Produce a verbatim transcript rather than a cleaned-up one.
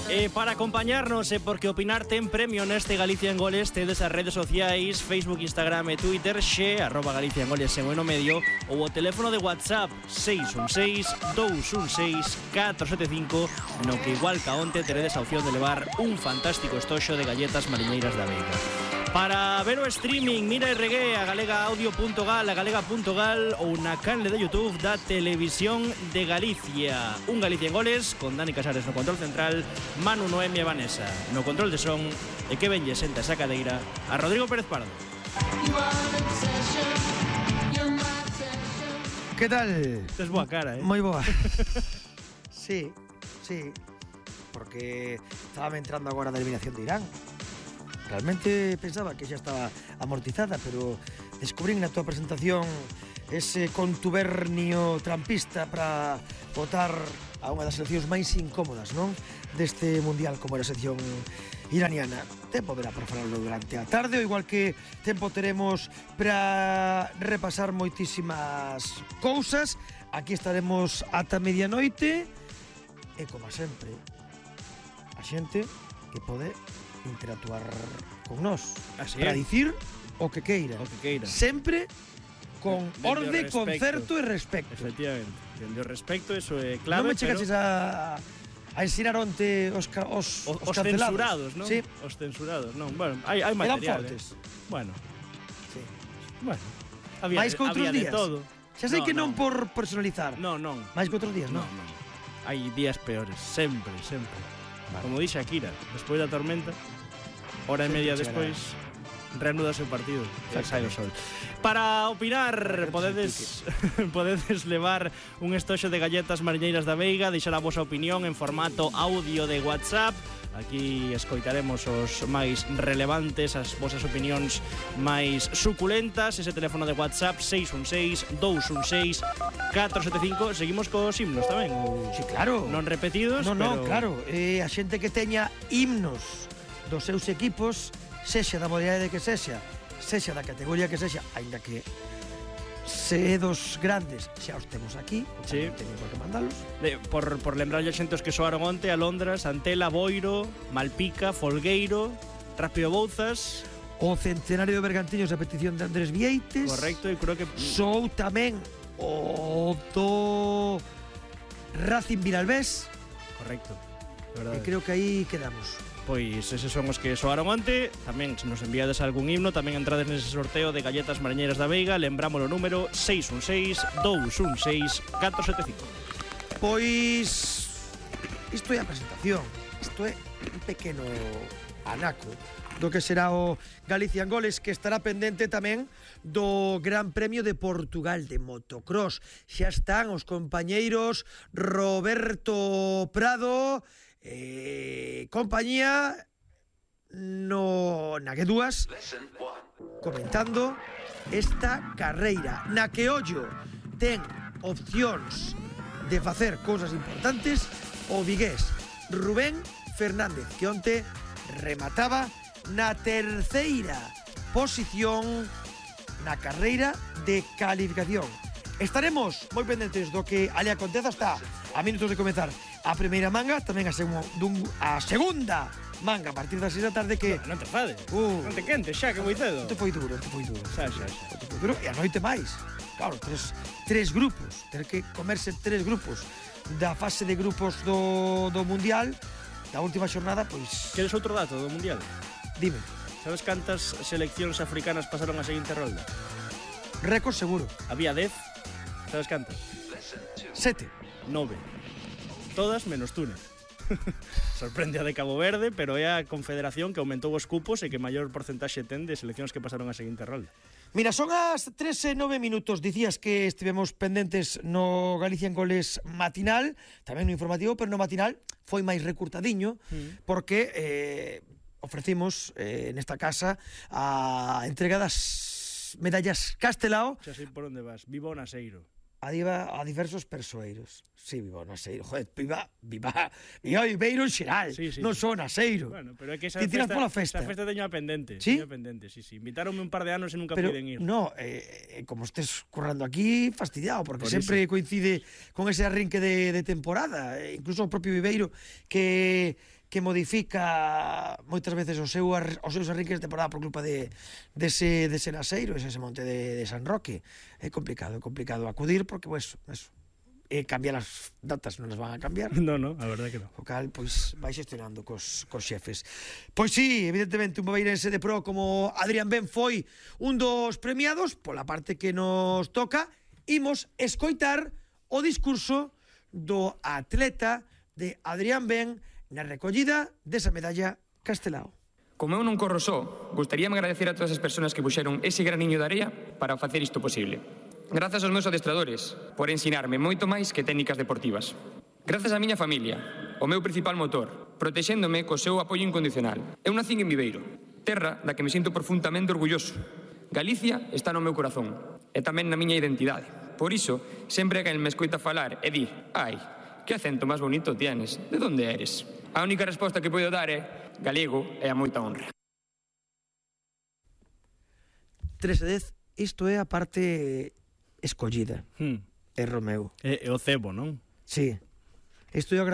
E para acompañarnos e porque opinar ten premio neste Galicia en Goles, tedes as redes sociais Facebook, Instagram e Twitter xe, arroba Galicia en Goles en o no medio, ou o teléfono de WhatsApp seis un seis, dous un seis, catro sete cinco, no que igual ca onte teredes a opción de levar un fantástico estoxo de galletas mariñeiras da Veiga. Para ver o streaming, mira e regué a galegaaudio.gal, a galega.gal ou na canle de YouTube da Televisión de Galicia. Un Galicia en Goles con Dani Casares no control central, Manu, Noemi e Vanessa no control de son, e que venlle senta esa cadeira a Rodrigo Pérez Pardo. Que tal? Tes boa cara, eh? Moi boa. Sí, sí. Porque estaba entrando agora da eliminación de Irán. Realmente pensaba que xa estaba amortizada, pero descubrín na tua presentación ese contubernio trampista para votar a unha das seleccións máis incómodas, non? Deste mundial, como era a selección iraniana. Tempo verá para falarlo durante a tarde, ou igual que tempo teremos para repasar moitísimas cousas. Aquí estaremos ata medianoite e, como sempre, a xente que pode interactuar con nós para dicir o que queira, o que queira. Sempre con de, orde, concerto e respecto. Efectivamente, dende o respecto, eso é clave. Non me chegaches pero... a, a ensinar onte os, os, os, os, os censurados, non? Sí. Os censurados, non? Bueno, hai, hai material. Eran fortes. Eh? Bueno. Sí. Bueno. Había, máis que outros días. Todo. Xa sei no, que non, non por personalizar. Non, non. Máis que outros días, non? Non, non. Hai días peores, sempre, sempre. Vale. Como dixe Akira, despois da tormenta, hora e media despois, reanúdase o partido e sai o sol. Para opinar, podedes podedes levar un estoxo de galletas mariñeiras da Veiga, deixar a vosa opinión en formato audio de WhatsApp. Aquí escoitaremos os máis relevantes, as vosas opinións máis suculentas. Ese teléfono de WhatsApp seis un seis, dous un seis, catro sete cinco. Seguimos cos himnos tamén? Sí, claro. Non repetidos, non, pero... non, claro. Eh, a xente que teña himnos dos seus equipos, sexa da modalidade que sexa, sexa da categoría que sexa, aínda que se dos grandes xa os temos aquí, sí. Non teñen por que mandalos. De, por, por lembrarlle a xente os que soaron onte, Alondra, Santela, Boiro, Malpica, Folgueiro, Rápido Bouzas, o centenario de Bergantiños a petición de Andrés Vieites. Correcto, e creo que sou tamén o do Racing Vilalbés. Correcto, e creo que aí quedamos. Pois eses son os que soaron onte. Tamén se nos enviades algún himno, tamén entrades nese sorteo de galletas mariñeiras da Veiga. Lembramos o número seis un seis, dous un seis, catro sete cinco. Pois isto é a presentación. Isto é un pequeno anaco do que será o Galicia en Goles, que estará pendente tamén do Gran Premio de Portugal de motocross. Xa están os compañeiros Roberto Prado Eh, compañía no na que dúas comentando esta carreira na que ollo ten opcións de facer cousas importantes o vigués Rubén Fernández, que onte remataba na terceira posición na carreira de calificación. Estaremos moi pendentes do que ali aconteza. Está a minutos de comenzar a primeira manga, tamén a, segu dun, a segunda manga a partir das seis da tarde que... Non te fades, uh, non te quentes xa, que moi cedo. Non te foi duro, non te foi duro. Xa, xa, xa. Duro, e a noite máis. Claro, tres, tres grupos, ter que comerse tres grupos da fase de grupos do, do Mundial, da última xornada, pois... Queres outro dato do Mundial? Dime. Sabes cantas seleccións africanas pasaron a seguinte rolda? Récord seguro. Había dez. Sabes cantas? Sete. Nove. Todas menos Túnez. Sorprende a de Cabo Verde, pero é a confederación que aumentou os cupos e que maior porcentaxe ten de seleccións que pasaron a seguinte rolda. Mira, son as tres e nove minutos. Dicías que estivemos pendentes no Galicia en Goles matinal, tamén no informativo, pero no matinal foi máis recurtadiño, mm. porque eh, ofrecimos eh, nesta casa a entrega das medallas Castelao. Xa sei por onde vas. Viva o Naseiro. A, diva, a diversos persoeiros. Sí, viva o Naseiro. Joder, viva, viva, viva o Ibeiro en xeral. Sí, sí, non só o Naseiro. Bueno, pero é que esa Ti tiras festa, pola festa. Esa festa teño a pendente. Sí? Teño a pendente, sí, sí. Invitáronme un par de anos e nunca pero, puiden ir. No, eh, como estés currando aquí, fastidiado, porque por sempre eso. coincide con ese arrinque de, de temporada. Eh, incluso o propio Ibeiro, que que modifica moitas veces o seu, os seus arranques de temporada por culpa de, dese, dese naseiro, ese monte de, de San Roque. É complicado, é complicado acudir porque, pues, eso, eh, cambiar as datas non as van a cambiar. No, no, a verdade que non. O cal, pois, vai xestionando cos, cos xefes. Pois sí, evidentemente, un bobeirense de pro como Adrián Ben foi un dos premiados, pola parte que nos toca, imos escoitar o discurso do atleta de Adrián Ben na recollida desa medalla Castelao. Como eu non corro só, gustaríame agradecer a todas as persoas que puxeron ese graniño de area para facer isto posible. Grazas aos meus adestradores por ensinarme moito máis que técnicas deportivas. Grazas á miña familia, o meu principal motor, protexéndome co seu apoio incondicional. Eu nacín en Viveiro, terra da que me sinto profundamente orgulloso. Galicia está no meu corazón e tamén na miña identidade. Por iso, sempre que me escoita falar e di «Ai, que acento máis bonito tienes, de onde eres?» A única resposta que podo dar é galego e a moita honra. tres e dez, isto é a parte escollida. Hmm. É Romeu. É, é o cebo, non? Sí. Isto eu